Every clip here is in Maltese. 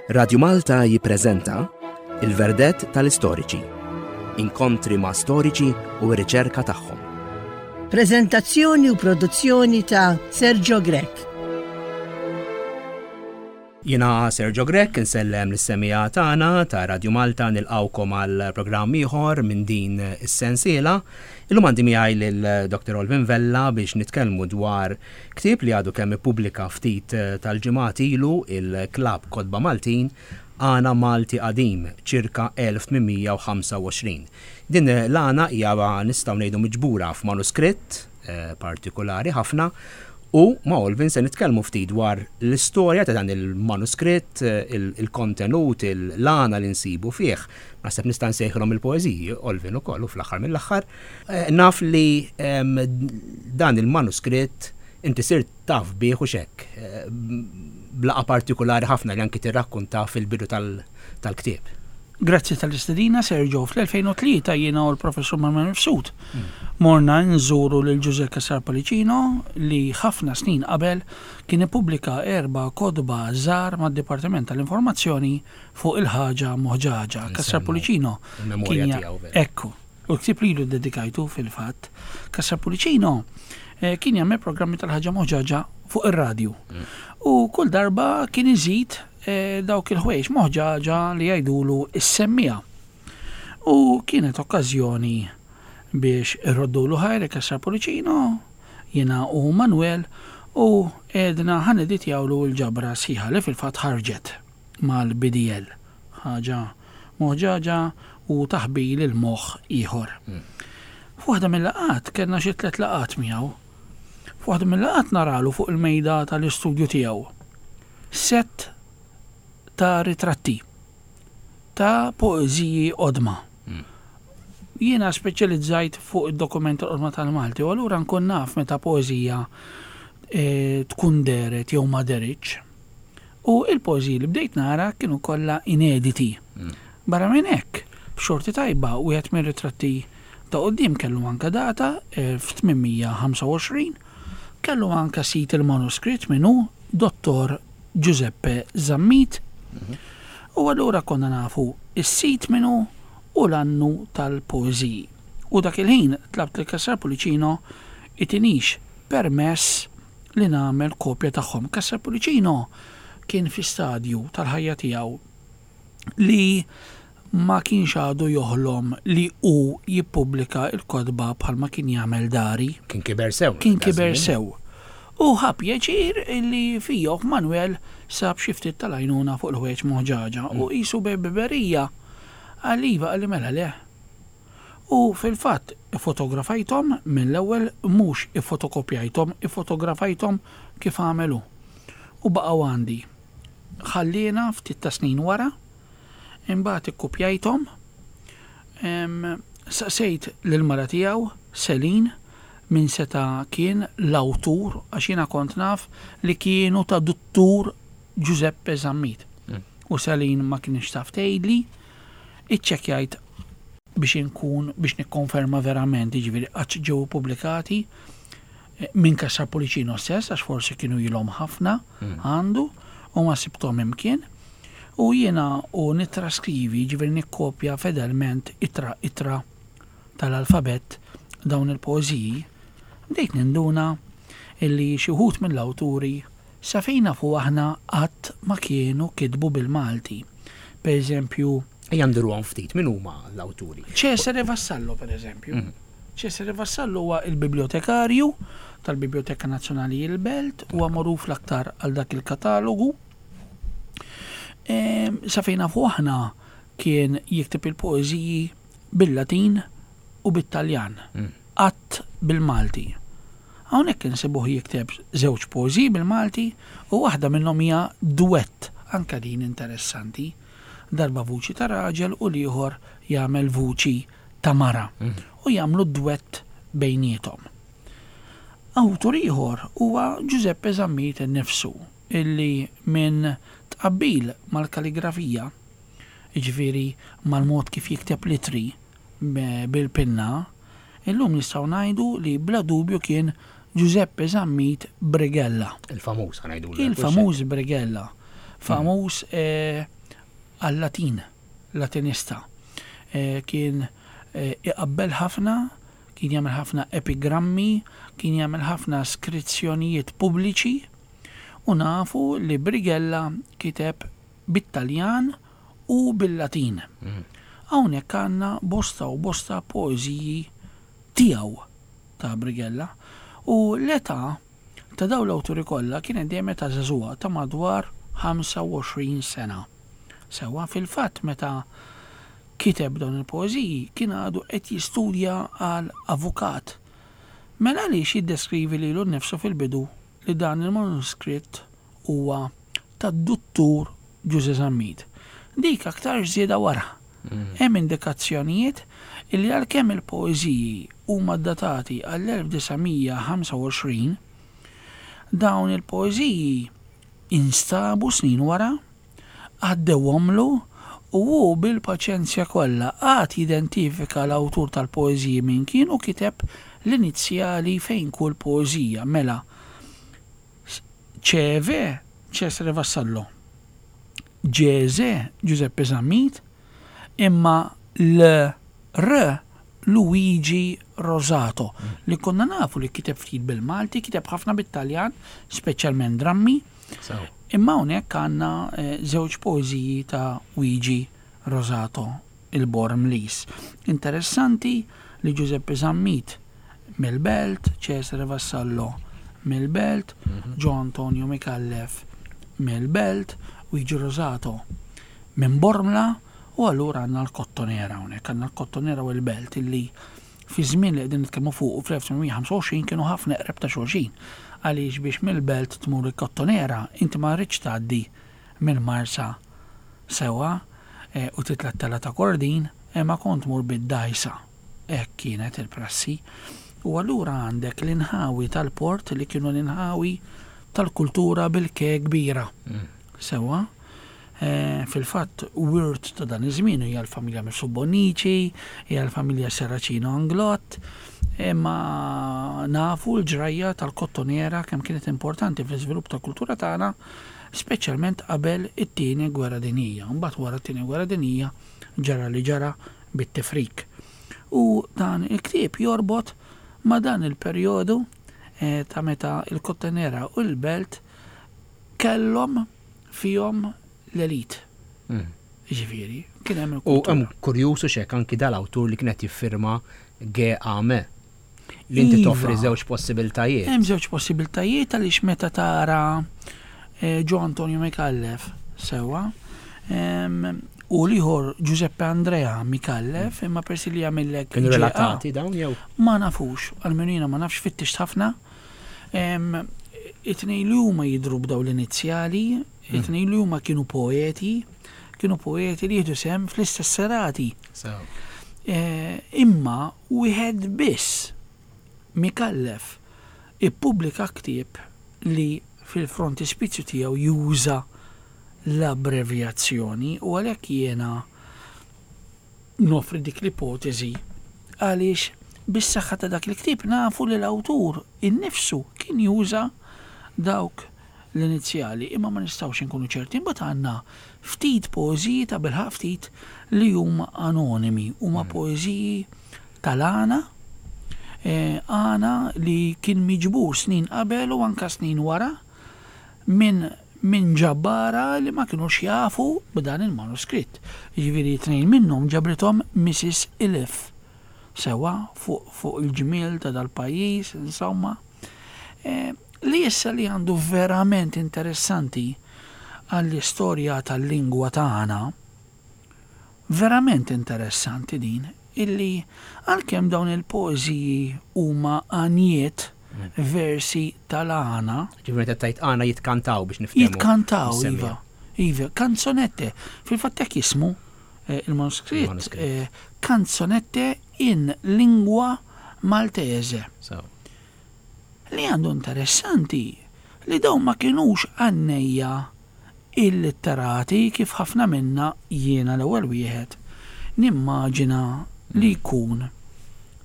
Radju Malta jippreżenta Il-Verdett tal-Istoriċi. Inkontri ma' storiċi u r-riċerka tagħhom. Preżentazzjoni u produzzjoni ta' Sergio Grech. Jiena Sergio Grech insellem lis-semmiegħa tagħna ta' Radju Malta nilqgħukom għal programm ieħor minn din is-sensiela. Illum għandi miegħi lil Dr. Olvin Vella biex nitkellmu dwar ktieb li għadu kemm ippubblika ftit tal-ġimgħat ilu il-Klabb Kotba Maltin Għana Malti Qadim, ċirka 1825. Din l-għana hija nistgħu ngħidu miġbura f'manuskritt partikulari ħafna u ma' Olvin se nitkellmu ftit dwar l-istorja ta' dan il-manuskritt, il-kontenut, l-għana li nsibu fih. Naħseb nista' nsejħilhom il-poeżiji, Olvin ukoll u fl-aħħar mill-aħħar. Naf li dan il-manuskritt inti sirt taf bih hux hekk, b'laqgħa partikulari ħafna li anki tirrakkunta fil-bidu tal-ktieb. Grazzi tal-istedina, Sergio. Fl-2003 jiena u l-Professur Manuel Mifsud morna nżuru lil Ġużè Cassar Pollicino li ħafna snin qabel kien ippubblika erba' kotba żgħar mad-Dipartiment tal-Informazzjoni fuq il-ħaġa moħġaġa. Cassar Pollicino kien Ekku. U l-ktieb lilu ddedikajtu fil-fatt. Cassar Pullicino kien jagħmel programmi tal-ħaġa moħġaġa fuq ir-radju. U kull darba kien iżid dawk il-ħwejjeġ moħġaġa li jgħidulu s-semmiegħa. U kienet okkażjoni biex irroddulu ħajr Cassar Pullicino, jiena u Manuel, u għedna ħa neditjawlu l-ġabra sħiħa li fil-fatt ħarġet mal-BDL. Ħaġa moħġaġa u taħbil il-moħħ ieħor. F'waħda mil-laqgħat, kellna xi tlett laqgħat miegħu. F'waħda mil-laqgħat naralu fuq il-mejda tal-istudju tiegħu sett ta' ritratti ta' poeżiji qodma. Jiena speċjalizzajt fuq id-dokumenti l-qodma tal-Malti u allura nkun naf meta poeżija tkun dehret jew ma dehritx. U l-poeżiji li bdejt nara kienu kollha inediti. Barra minn hekk, b'xorti tajba wieħed mir-ritratti ta' quddiem kellu anke data, 1825, kellu anke sid il-manuskritt min hu, Dottor Giuseppe Zammit. U allura konna nafu s-sid min hu u l-annu tal-poeżiji. U dak il-ħin tlabt lil Cassar Pullicino itinix permess li nagħmel kopja tagħhom. Cassar Pullicino kien fi stadju tal-ħajja tiegħu li ma kienx għadu joħlom li hu jippubblika l-kotba bħalma kien jagħmel dari. Kien kiber sew. Kien kiber sew. U ħa pjaċir li fija u f'Manuel sab xi ftit tal-għajnuna fuq il-ħwejjeġ moħġaġa u qisu bi ħbiberija qal iva qalli mela le. U fil-fatt iffotografajthom mill-ewwel mhux iffotokopjajthom, iffotografajthom kif għamel hu. U baqgħu għandi. Ħalliena ftit ta' snin wara, imbagħad ikkupjajthom. Saqsejt lill-mara tiegħu, Celine, min seta' kien l-awtur għax jiena kont naf li kienu ta' Duttur Giuseppe Zammit. U Celine ma kinitx taf tgħidli. Iċċekkjajt biex inkun biex nikkonferma verament, jiġifieri qatt ġew ippubblikati minn Cassar Pullicino stess għax forsi kienu ilhom ħafna għandu u ma sibthom imkien. U jiena u nittraskrivi, jiġifieri nikkopja fedelment ittra ittra tal-alfabett dawn il-poeżiji, bdejt ninduna illi xi wħud mill-awturi Sa fejn nafu aħna qatt ma kienu kitbu bil-Malti. Per eżempju. Ejja nduruhom ftit, min huma l-awturi? Cesare Vassallo per eżempju. Cesare Vassallo huwa l-bibliotekarju tal-Bibljoteka Nazzjonali il-Belt, huwa magħruf l-aktar għal dak il-katalogu. Sa fejn nafu aħna kien jikteb il-poeżiji bil-Latin u bit-Taljan, qatt bil-Malti. Hawnhekk insibuh jikteb żewġ poeżiji bil-Malti u waħda minnhom hija duett, anke din interessanti, darba vuċi ta' raġel u l-ieħor jagħmel vuċi ta' mara u jagħmlu dwett bejniethom. Awtur ieħor huwa Giuseppe Zammit innifsu illi minn tqabbil mal-kaligrafija, jiġifieri mal-mod kif jikteb l-ittri bil-pinna, Illum nistgħu ngħidu li bla dubju kien Giuseppe Zammit Brighella. Il-famuż ħa ngħidulu. Il-famuż Brighella. Famuż. għal-Latin, Latinista. Kien iqabbel ħafna, kien jagħmel ħafna epigrammi, kien jagħmel ħafna skrizzjonijiet pubbliċi u nafu li Brighella kiteb bit-Taljan u bil-Latin. Hawnhekk għandna bosta u bosta poeżiji tiegħu ta' Brighella u l-età ta' dawn l-awturi kollha kienet dejjem età żagħżugħa ta' madwar 25 sena. Sewwa, fil-fatt meta kiteb dawn il-poeżiji kien għadu qed jistudja għal avukat. Mela għaliex jiddeskrivi lilu nnifsu fil-bidu li dan il-manuskritt huwa tad-Duttur Ġużè Zammit? Dik aktarx żieda wara. Hemm indikazzjonijiet illi għalkemm il-poeżiji huma ddatati għall-1925, dawn il-poeżiji instabu snin wara, għaddewhomlu u hu bil-paċenzja kollha qagħad jidentifika l-awtur tal-poeżiji min kien u kiteb l-inizjali fejn kull poeżija, mela CV Cesare Vassallo, GZ Giuseppe Zammit, imma LR Luigi Rosato, li konna nafu li kiteb ftit bil-Malti, kiteb ħafna bit-Taljan, speċjalment drammi. Imma hawnhekk għandna eh, żewġ poeżiji ta' Luigi Rosato il-Bormliż. Interessanti li Giuseppe Zammit mill-Belt, Cesare Vassallo mill-Belt, Gio Antonio Micallef mill-Belt, Luigi Rosato minn Bormla u allura għandna l-Kottonera hawnhekk, għandna l-Kottonera u l-Belt illi fi żmien li qegħdin nitkellmu fuqu fl-1825 kienu ħafna eqreb ta' xulxin. Għaliex biex mill-Belt tmur il-Kottonera inti ma rridx tgħaddi mill-Marsa sewwa u titla' t-telgħa ta' Kordin imma kont tmur bid-dgħajsa. Hekk kienet il-prassi. U allura għandek l-inħawi tal-port li kienu l-inħawi tal-kultura bil-K kbira. Sewwa? Fil-fatt wirt ta' dan iż-żmien hija l-familja Mifsud Bonnici, hija l-familja Serracino Anglott, imma nafu l-ġrajja tal-Kottonera kemm kienet importanti fl-iżvilupp tal-kultura tagħna, speċjalment qabel it-Tieni Gwerra Dinjija. Imbagħad wara t-Tieni Gwerra Dinjija ġara li ġara bit-tifrik. U dan il-ktieb jorbot ma' dan il-perjodu ta' meta l-Kottonera u l-Belt kellhom fihom l-elit. Jiġifieri, kien hemm il-kultura. U hemm kurjuż u x'hekk anki dal-awtur li kien qed jiffirma GAM. Li inti iva. toffri żewġ possibiltajiet. Hemm żewġ possibiltajiet għaliex meta tara eh, Gio Antonio Micallef sewwa u l-ieħor Giuseppe Andrea Micallef imma persi li jagħmillek. Kienu relatati dawn jew? Ma nafux, għalmenu jiena ma nafx fittixt ħafna. It-tnejn li huma jidhru b'dawn l-inizjali, it-tnejn li huma kienu poeti, kienu poeti li jieħdu sehem fl-istess serati. Imma wieħed biss, Micallef, ippubblika ktieb li fil-frontispizju tiegħu juża l-abbrevjazzjoni u għalhekk jiena Noffri dik l-ipoteżi għaliex bis-saħħa ta' dak il-ktieb nafu li l-awtur innifsu kien juża dawk l-inizjali, imma ma nistgħux inkunu ċerti. Imbagħad għandna ftit poeżiji, tabilħaqq ftit, li huma anonimi, huma poeżiji tal-għana, għana li kien miġbur snin qabel u anke snin wara minn minn ġabbara li ma kinux jafu b'dan il-manuskritt. Jiġifieri tnejn minnhom ġabrithom Mrs. Iliffe, sewwa fuq fuq il-ġmiel ta' dal-pajjiż, insomma. Li issa li għandu verament interessanti għall-istorja tal-lingwa tagħna, Verament interessanti din, illi għalkemm dawn il-poeżiji huma għanjiet, versi tal-għana. Ġifieri meta tgħid għana jitkantaw biex niftehmu. Jitkantaw, iva. Iva, kanzonette. Fil-fatt hekk jismu eh, il-manuskritt. Eh, kanzonette in lingua Maltese. Li għandu interessanti li dawn ma kinux għannejja illitterati kif ħafna minna, jiena l-ewwel wieħed, nimmaġina li jkun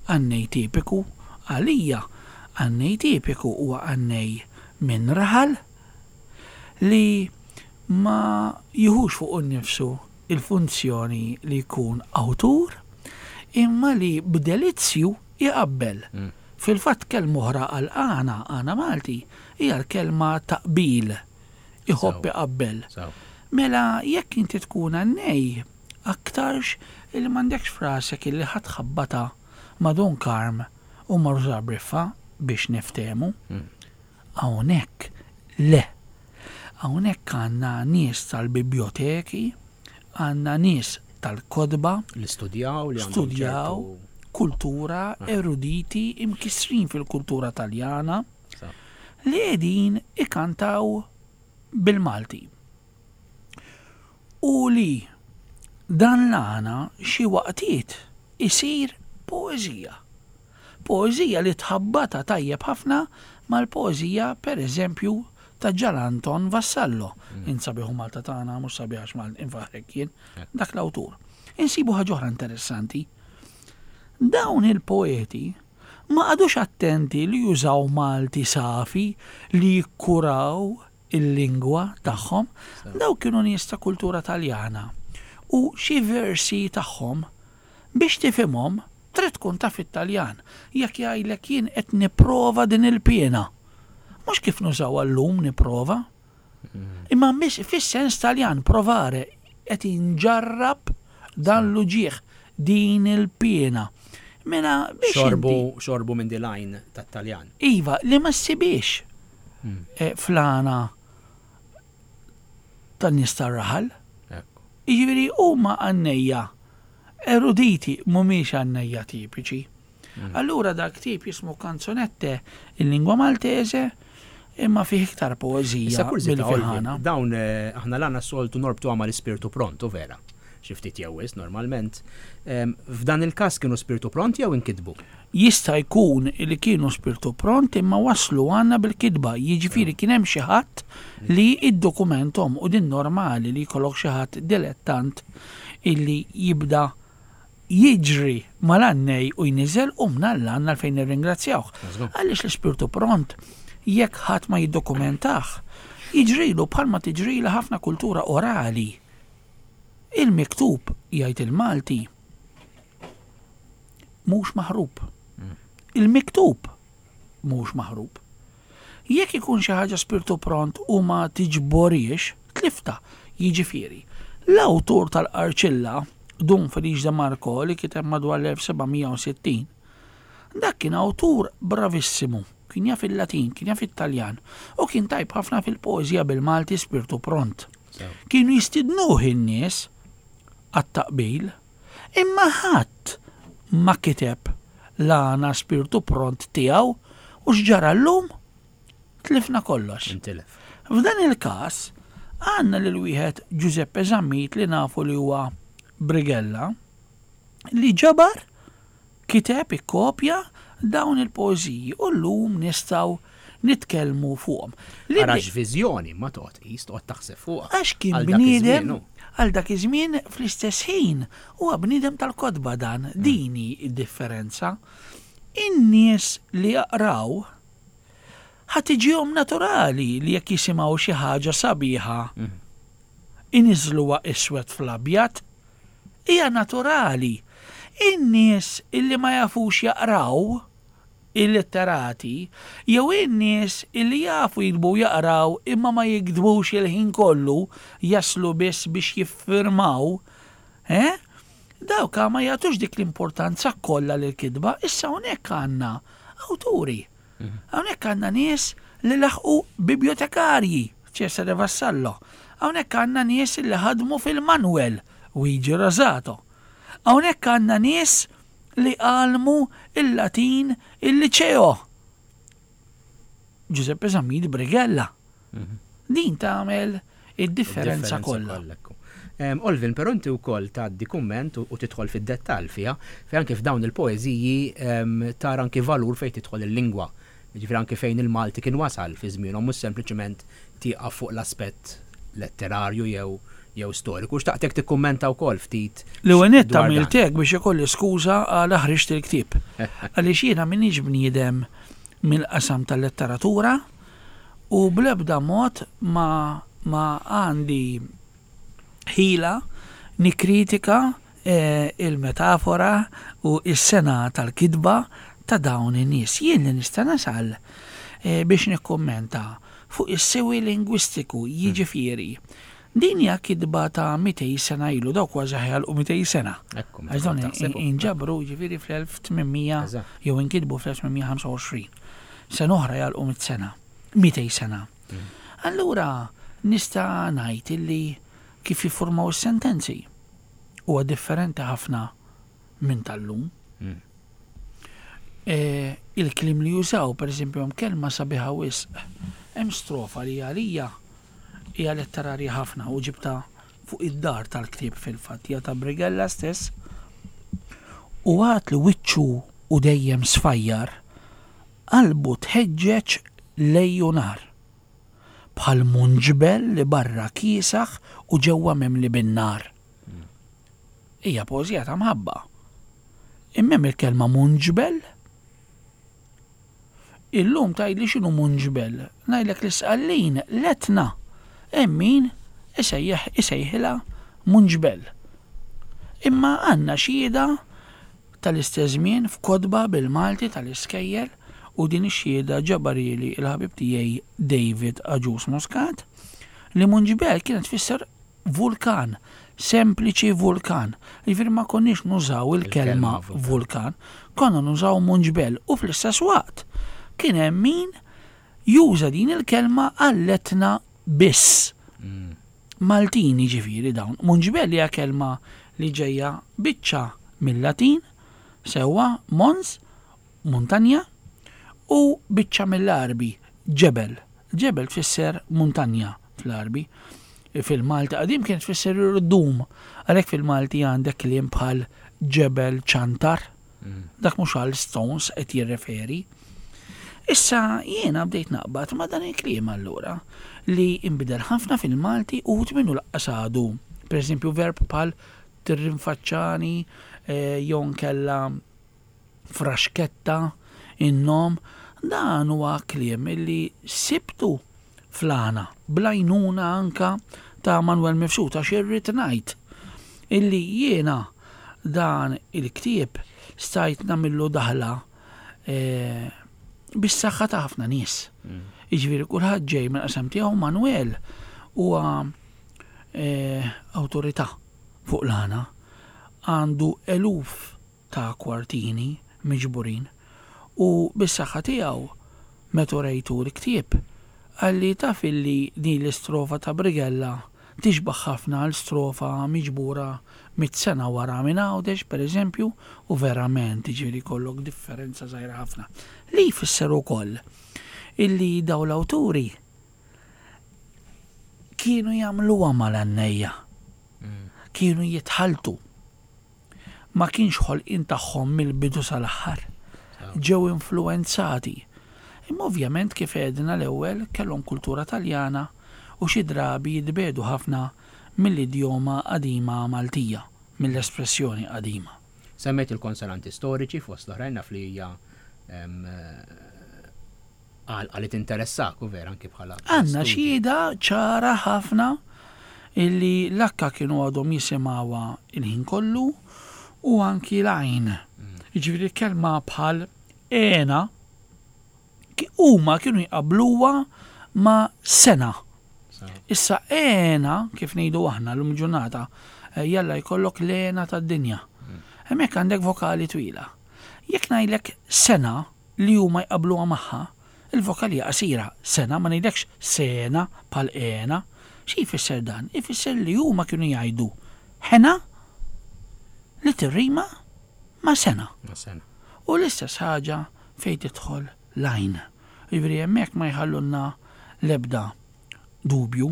għannej tipiku. Għalija, għannej tipiku huwa għannej minn raħal li ma jiħux fuqu nnifsu. il-funzjoni li jkun awtur, imma li b'delizzju jqabbel. Fil-fatt kelma oħra għal għana, għana Malti, hija l-kelma taqbil. Iħobb iqabbel. Mela jekk inti tkun għannej, aktarx illi m'għandekx f'rasek illi ħa tħabbatha ma' Dun Karm u ma' Rużar Briffa biex niftehmu. Hawnhekk le. Hawnhekk għandna nies tal-bibjoteki, għandna nies tal-kotba. Li studjaw, li għandhom studjaw, kultura, eruditi, imkissrin fil-kultura Taljana, li qegħdin ikantaw bil-Malti. U li dan l-għana xi waqtiet isir poeżija. Poeżija li tħabbatha tajjeb ħafna mal-poeżija, per eżempju, ta' Ġan Anton Vassallo. Int sabiħ u Malta tagħna, mhux sabiħ għax Malta, infaħħrek jien, dak l-awtur. Insibu ħaġa oħra interessanti. Dawn il-poeti ma qagħdux attenti li jużaw Malti safi li jikkuraw il-lingwa tagħhom. Dawk kienu nies ta' kultura Taljana u xi versi tagħhom biex tifhimhom trid tkun taf it-Taljan. Jekk jgħidlek jien qed nipprova din il-piena. Mhux kif nużawha llum nipprova. Imma fis-sens Taljan provare qed inġarrab dan l-uġigħ, din il-piena. Mela biex Xorbu, xorbu minn dil-għajn tat-Taljan. Iva, li ma ssibhiex fl-għana tan-nies tar-raħal. Jiġifieri huma għannejja eruditi mhumiex għannejja tipiċi. Allura dak ktieb jismu Canzonette in lingua maltese imma fih iktar poeżija milli fih għana. Dawn aħna l-għana s-soltu norbtuha mal-ispirtu pront, u vera? Xi ftit jew wisq normalment. F'dan il-każ kienu spirtu pront jew inkitbu? Jista' jkun li kienu spirtu pront imma waslu għandna bil-kitba, jiġifieri kien hemm xi ħadd li iddokumenthom u din normali li jkollok xi ħadd dilettant illi jibda jiġri mal-għannej u jniżżel u mnalla għandna għalfejn nirringrazzjawh. Għaliex l-ispirtu pront jekk ħadd ma jiddokumentah, jiġrilu bħalma tiġrilha ħafna kultura orali. Il-miktub, jgħid il-Malti, mhux maħrub. Il-miktub mhux maħrub. Jekk ikun xi ħaġa spirtu pront u ma tiġborhiex, tliftha. Jiġifieri, l-awtur tal-Qarċilla, Dun Felice de Marco li kiteb madwar l-1760, dak kien awtur bravissimu, kien jaf il-Latin, kien jaf it-Taljan u kien tajb ħafna fil-poeżija bil-Malti spirtu pront. Kienu jistidnuh in-nies għat-taqbil, imma ħadd ma kiteb l-għana spirtu pront tiegħu u x'ġara llum? Tlifna kollox. Intilef. F'dan il-każ, għandna lil wieħed Giuseppe Zammit li nafu li huwa Brighella, li ġabar, kiteb, ikkopja dawn il-poeżiji u llum nistgħu nitkellmu fuqhom. Ara x'viżjoni ma toqgħod tqis, toqgħod taħseb fuqha. Għax kien bniedem għal dak iż-żmien fl-istess ħin huwa bniedem tal-kotba dan, din hi d-differenza. In-nies li jaqraw ħa tiġihom naturali li jekk jisimgħu xi ħaġa sabiħa iniżżluha iswed fl-abjad. Hija naturali. In-nies illi ma jafux jaqraw, illitterati, jew in-nies illi jafu jiktbu u jaqraw imma ma jiktbux il-ħin kollu, jaslu biss biex jiffirmaw, eh? Dawk ma jagħtux dik l-importanza kollha lill-kitba. Issa hawnhekk għandna awturi. Hawnhekk għandna nies li laħqu bibliotekarji, Cesare Vassallo. Hawnhekk għandna nies li ħadmu fil-Manuel, Luigi Rosato. Hawnhekk għandna nies li għallmu l-Latin il-Liċeo, Giuseppe Zammit Brighella. Din tagħmel id-differenza kollha. Olvin, però inti wkoll tgħaddi kumment u tidħol fid-dettall fiha, fejn anke f'dawn il-poeżiji tara anki valur fejn tidħol il-lingwa. Jiġifieri anki fejn il-Malti kien wasal fi żmienhom mhux sempliċement tieqaf fuq l-aspett letterarju jew jew storiku. Xtaqtek tikkummenta wkoll ftit. L-ewwel nett għamilt hekk biex ikolli skuża għala ħriġt il-ktieb. Għaliex jiena m'iniex bniedem mill-qasam tal-letteratura u bl-ebda mod ma ma għandi ħila nikkritika il-metafora u s-sengħa tal-kitba ta' dawn in-nies. Jien li nista' nasal biex nikkummenta fuq is-siwi lingwistiku, jiġifieri, din hija kitba ta' 200 sena ilu, dawk kważi ħa jagħlqu 200 sena. Għax dawn inġabru jiġifieri fl-1800 jew inkitbu fl-1825. Sena oħra jagħlqu mitt sena, 200 sena. Allura nista' ngħid illi kif jiffurmaw is-sentenzi huwa differenti ħafna minn tal-lum. Il-kliem li jużaw, pereżempju, hemm kelma sabiħa wisq, hemm strofa li għalija hija letterarja ħafna u ġibtha fuq id-dar tal-ktieb fil-fatt, hija ta' Brighella stess. U għad li wiċċu u dejjem sfajjar, qalbu tħeġġeġ lejju nar. Bħal munġbel li barra kiesaħ u ġewwa mimli bin-nar. Hija poeżija ta' mħabba. Imma hemm il-kelma munġbel. Illum tgħidli x'inhu munġbel, ngħidlek l-Isqallin l-Etna hemm min isejjaħ isejħilha munġbel. Imma għandna xhieda tal-istess żmien f'kotba bil-Malti tal-iskejjel u din ix-xhieda ġabarhieli l-ħabib tiegħi David Agius Muscat li munġbel kienet tfisser vulkan, sempliċi vulkan. Jiġifieri ma konniex nużaw il-kelma vulkan, konna nużaw munġbel u fl-istess waqt kien hemm min juża din il-kelma għall-Etna biss. Maltin jiġifieri dawn. Munġbel hija kelma li ġejja biċċa mil-Latin, sewwa mons, muntanja, u biċċa mill-Għarbi, ġebel. Ġebel tfisser muntanja fl-Għarbi. Fil-Malti qadim kienet tfisser irdum. Għalhekk fil-Malti għandek kliem bħal ġebel ċantar. Dak mhux għal stones qed jirreferi. Issa jiena bdejt naqbad ma' dan il-kliem allura li inbidel ħafna fil-Malti u minnu laqqas għadu. Per eżempju verb bħal tirrinfaċċani eh, jew nkella fraxketta, in-nom, dan huwa kliem illi sibtu fl-għana, bl-għajnuna anka ta' Manuel Mifsud għax irrid ngħid illi jiena dan il-ktieb stajt nagħmillu daħla eh, bis-saħħa ta' ħafna nies. Mm. Jiġifieri kulħadd ġej minn qasam tiegħu Manuel huwa eh, awtorità fuq l-għana għandu eluf ta' kwartini miġburin u bis-saħħa tiegħu meta urejtu l-ktieb qalli taf illi din l-istrofa ta' Brighella tixbah ħafna għal strofa miġbura mitt sena wara minn Għawdex pereżempju u verament jiġifieri jkollok differenza żgħira ħafna. Li jfisser ukoll illi dawn l-awturi kienu jagħmluha mal-għannejja. Kienu jitħalltu. ma kienx ħolqien tagħhom mill-bidu sal-aħħar. Ġew influwenzati. Imma ovvjament kif għedna l-ewwel kellhom kultura Taljana u xi drabi jitbiegħdu ħafna mill-idjoma qadima Maltija, mill-espressjoni qadima. Semmejt il-konsonanti storiċi fost l-oħrajn naf li hija għalqa li tinteressak u vera anki bħala. Għandna xhieda ċara ħafna illi l-akka kienu għadhom jisimgħuha il-ħin kollu u anki l-għajn. Mm. Jiġifieri kelma bħal għena huma kienu jqabluha ma' sena. Issa għena, kif ngħidu aħna l-lum ġurnata, eh, jalla jkollok l-għena tad-dinja. Mm. Hemmhekk għandek vokali twila. Jekk ngħidlek sena, li huma jqabbluha magħha, il-vokal hija qasira, sena, ma ngħidlekx sena bħal għena. Xi jfisser dan? Ifisser li huma kienu jgħidu ħena li tirrima ma' sena. Ma' sena. U l-istess ħaġa fejn tidħol l-għajn. Jiġifieri hemmhekk ma jħallulna l-ebda dubju.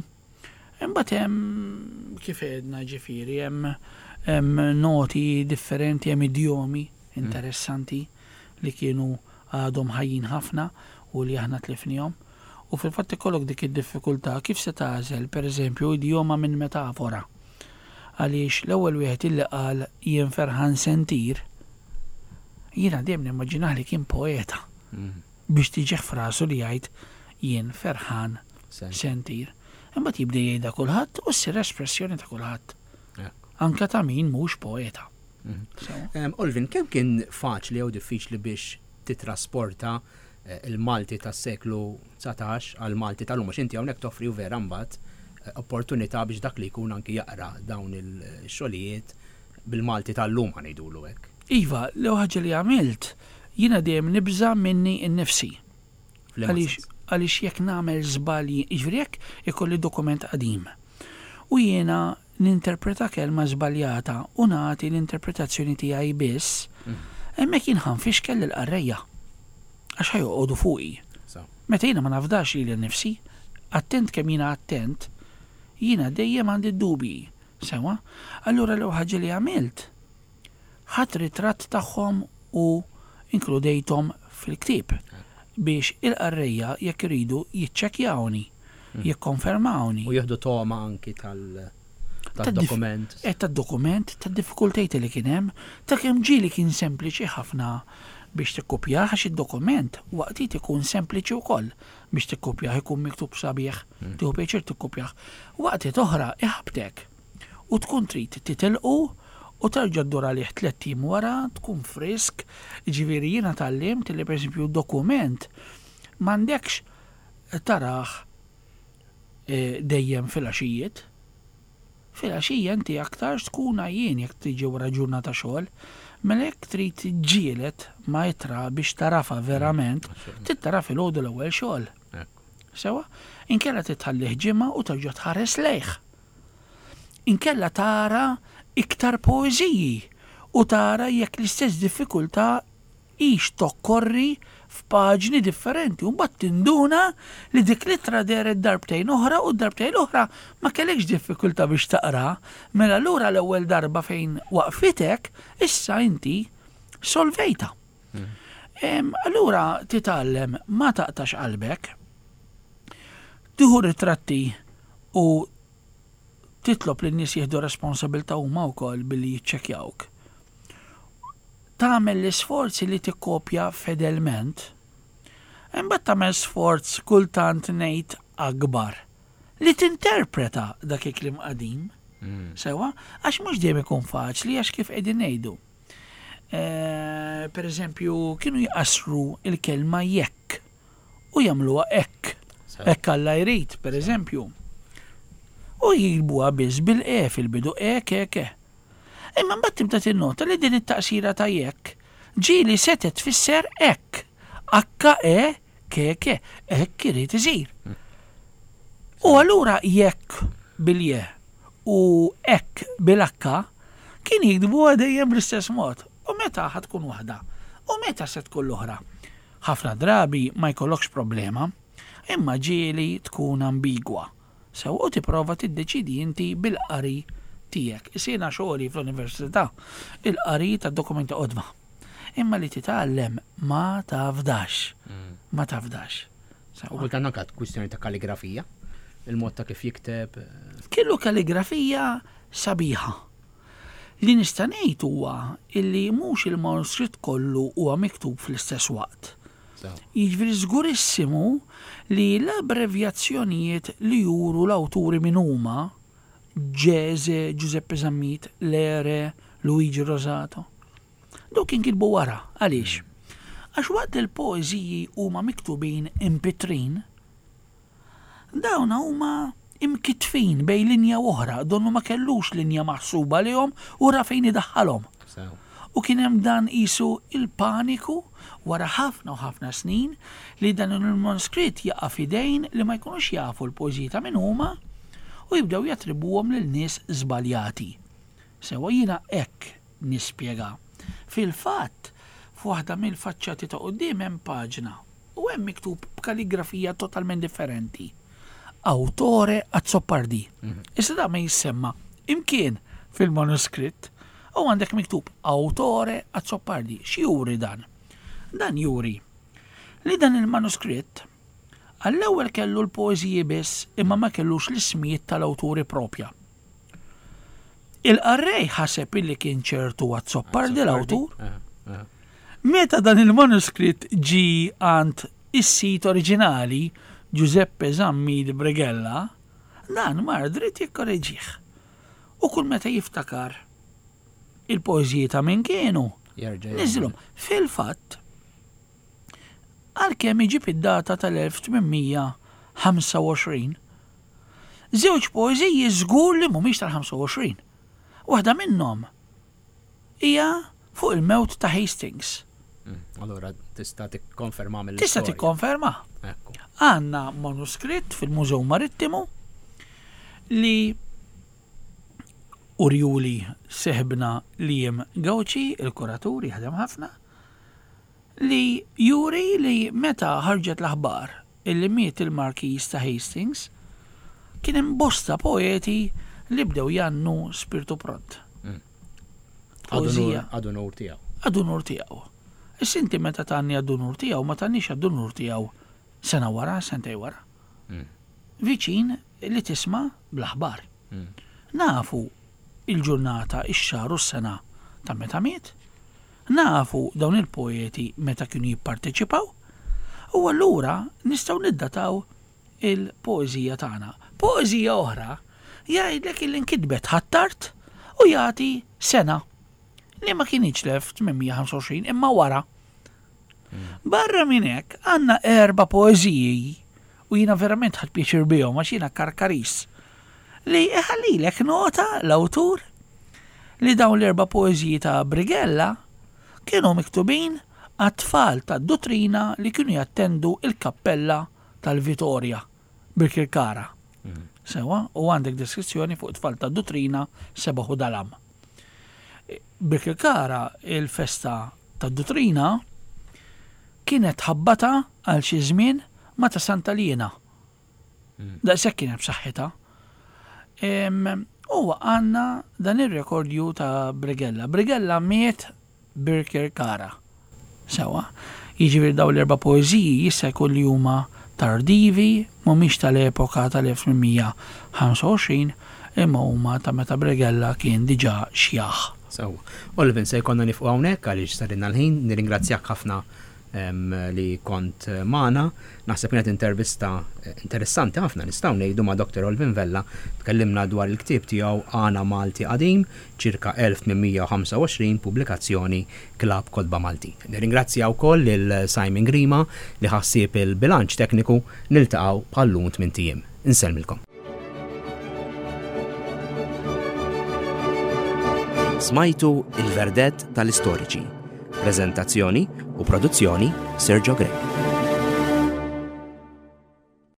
Imbagħad hemm kif għedna ġifieri hemm hemm noti differenti, hemm idjomi interessanti li kienu għadhom ħajjin ħafna u li aħna tlifnihom. U fil-fatt ikollok dik id-diffikultà kif se tagħżel, pereżempju, idjoma minn metafora. Għaliex l-ewwel wieħed illi qal jien ferħan se ntir, jiena dejjem nimmaġinah li kien poeta biex tiġih f'rasu li jgħid jien ferħan se ntir. Imbagħad jibda jgħidha kulħadd u ssir espressjoni ta' kulħadd. anke ta' min mhux poeta. Mhm. Olvin, kemm kien faċli jew diffiċli biex titrasporta eh, il-Malti tas-seklu 19 għal Malti tal-lum, għax inti hawnhekk toffri u vera mbagħad eh, opportunità biex dak li jkun anki jaqra dawn il-xogħlijiet bil-Malti tal-lum ngħidulu hekk. Iva, l-ewwel ħaġa li għamilt, jiena dejjem nibża' minni nnifsi. Għaliex għaliex jekk nagħmel żbalji, jiġifieri jekk ikolli dokument qadim u jiena ninterpreta kelma żbaljata u nagħti l-interpretazzjoni tiegħi biss, hemmhekk jien ħa nfixkel lill-qarrejja. Għax ħa joqogħdu fuqi. Meta jiena ma nafdax lili nnifsi, attent kemm jiena attent, jiena dejjem għandi d-dubji. Sewwa? Allura l-ewwel ħaġa li għamilt, ħadt ritratt tagħhom u inkludejthom fil-ktieb biex il-qarrejja jekk iridu jiċċekkjawni, jikkonfermawni. U jieħdu togħma anki tad-dokument. Eh, tad-dokument, tad-diffikultajiet li kien hemm, ta' kemm ġieli kien sempliċi ħafna biex tikkupjah għax id-dokument waqtiet ikun sempliċi wkoll biex tikkupjah, ikun miktub sabiħ, tieħu pjaċir tikkupjah. Waqtiet oħra iħabbtek. u tkun trid titilqu u terġa' ddur għalih tlett ijiem wara, tkun frisk, jiġifieri jiena tgħallimt li pereżempju dokument m'għandekx tarah dejjem filgħaxijiet. Filgħaxija inti aktarx tkun għajjien jekk tiġi wara ġurnata xogħol, mela jekk trid tiġġieled ma' ittra biex tagħrafha verament, trid tara filgħodu l-ewwel xogħol. Sewwa? Inkella trid tħallih ġimgħa u terġa' tħares lejh. Inkella tara iktar poeżiji u tara jekk l-istess diffikultà hix tokkorri f'paġni differenti u mbagħad tinduna li dik l-ittra dehret darbtejn oħra u d-darbtejn l-oħra ma kellekx diffikultà biex taqraha. Mela allura l-ewwel darba fejn waqfitek issa inti solvejtha. Allura titgħallem ma taqtax qalbek, tieħu ritratti u titlob lin-nies jieħdu responsabilità huma wkoll billi jiċċekkjawk. Tagħmel l-isforzi li tikkopja fedelment, imbagħad tagħmel sforz kultant ngħid akbar li tinterpreta dak il-kliem qadim. Mm. Sewa, għax mhux dejjem ikun faċli għax kif qegħdin ngħidu. Eh, per eżempju, kienu jqassru il-kelma jekk u jagħmluha hekk. Hekk Alla jrid, per eżempju. U jilbuha biss bil-e fil-bidu e ke ke. Imma mbagħad tibda tinnota li din it-taqsira ta' jekk ġieli setgħet tfisser hekk. H e ke ke, hekk irid isir. U allura jekk bil-je u hekk bil-h kien jiktbuha dejjem bl-istess mod. U meta ħa tkun waħda? U meta se tkun l-oħra? Ħafna drabi ma jkollokx problema, imma ġieli tkun ambigwa. Sewwa u tipprova tiddeċiedi inti bil-qari tiegħek. Issa jiena xogħli fl-università, il-qari tad-dokumenti qodma. Imma li titgħallem ma tafdax. Mm. Ma tafdax. U kultant anke kwistjoni ta' kaligrafija, il-mod ta' kif jikteb. Eh. Kellu kaligrafija sabiħa. Li nista' ngħid huwa illi mhux il-manuskritt kollu huwa miktub fl-istess waqt. Jiġifieri żgurissimu li l-abbrevjazzjonijiet li juru l-awturi min huma, Ġeże, Giuseppe Zammit, Lere, Luigi Rosato, dawk inkitbu wara. Għaliex? Għax waqt li l-poeżiji huma miktubin impittrin, Dawn huma imkittfin bejn linja u oħra, donnu ma kellux linja maħsuba għalihom u ra fejn idaħħalhom. U kien hemm dan qisu il-paniku wara ħafna u ħafna snin li dan il-manuskritt jaqa' f'idejn li ma jkunux jafu l-poeżiji ta' min huma u jibdew jattribwuhom lil nies żbaljati. Sewwa jiena hekk nispjega. Fil-fatt, f'waħda mill-faċċati ta' quddiem hemm paġna U hemm miktub b'kaligrafija totalment differenti. Autore Azzopardi. Mhm. Issa da ma jissemma imkien fil-manuskritt u għandek miktub Autore Azzopardi. X'juri dan? Dan juri li dan il-manuskritt għall-ewwel kellu l-poeżiji biss imma ma kellux l-ismijiet tal-awturi propja. Il-qarrej ħaseb illi kien ċertu Azzopardi l-awtur. Eh, eh. Meta dan il-manuskritt ġie għand is-sid oriġinali, Giuseppe Zammit Brighella, dan mar dritt jikkoreġih. U kull meta jiftakar il-poeżiji ta' min kienu, niżilhom. Fil-fatt, għalkemm iġib id-data tal-1825, żewġ poeżiji żgur li mhumiex tal-25. Waħda minnhom hija fuq il-mewt ta' Hastings. Mm, allura tista' tikkonferma mill Tista' tikkonferma. Għandna manuskritt fil-Mużew Marittimu li urjuli seħbna Liam Gauci, il-kuratur, jaħdem ħafna, li juri li meta ħarġet l-aħbar illi miet il-Markiż ta' Hastings, kien hemm bosta poeti li bdew jgħannu spirtu pront. Mm. Poeżija. Għad unur tiegħu. Għad unur tiegħu. Issa inti meta tgħanni għad unur tiegħu ma tgħannix għad unur tiegħu sena wara, sentej wara. Mm. Viċin li tisma' bl-aħbar. Mm. Nafu il-ġurnata, ix-xahar u s-sena ta' meta miet, nafu dawn il-poeti meta kienu jipparteċipaw, u allura nistgħu niddataw il-poeżija tagħna. Poeżija oħra jgħidlek illi nkitbet Ħ'Attard u jagħti sena li ma kinitx l-1825 imma wara. Barra minn hekk għandna erba' poeżiji u jiena verament ħadt pjaċir bihom għax jiena Karkaris li iħallilek nota l-awtur li dawn l-erba' poeżiji ta' Brighella kienu miktubin għat-tfal tad-duttrina li kienu jattendu l-kappella tal-Vitorja Birkirkara. Sewwa, u għandek deskrizzjoni fuq it-tfal tad-duttrina Sebaħ u Dalam. Birkirkara il-festa tad-duttrina kienet tħabbata għal xi żmien ma' ta' Santa Liena. Daqshekk kienet b'saħħitha. U għandna dan ir-rekordju ta' Brighella. Brighella miet Birkirkara. Sewwa. Jiġifieri dawn l-erba' poeżiji jista' jkun li huma tardivi, mhumiex tal-epoka tal-1825, imma huma ta' meta Brighella kien diġà xjaħ. Sewwa. Olvin, se jkollna nifqu hawnhekk għaliex sarilna l-ħin. Nirringrazzjak ħafna li kont magħna. Naħseb kienet intervista interessanti ħafna nistgħu ngħidu ma' Dr. Olvin Vella. Tkellimna dwar il-ktieb tiegħu Għana Malti Qadim, ċirka 1825, pubblikazzjoni Klabb Kotba Maltin. Nirringrazzja wkoll lil Simon Grima li ħa ħsieb il-bilanċ tekniku. Niltaqgħu bħal-lum tmint ijiem. Insellmilkom. Smajtu Il-Verdett tal-Istoriċi. Preżentazzjoni u produzzjoni Sergio Grech.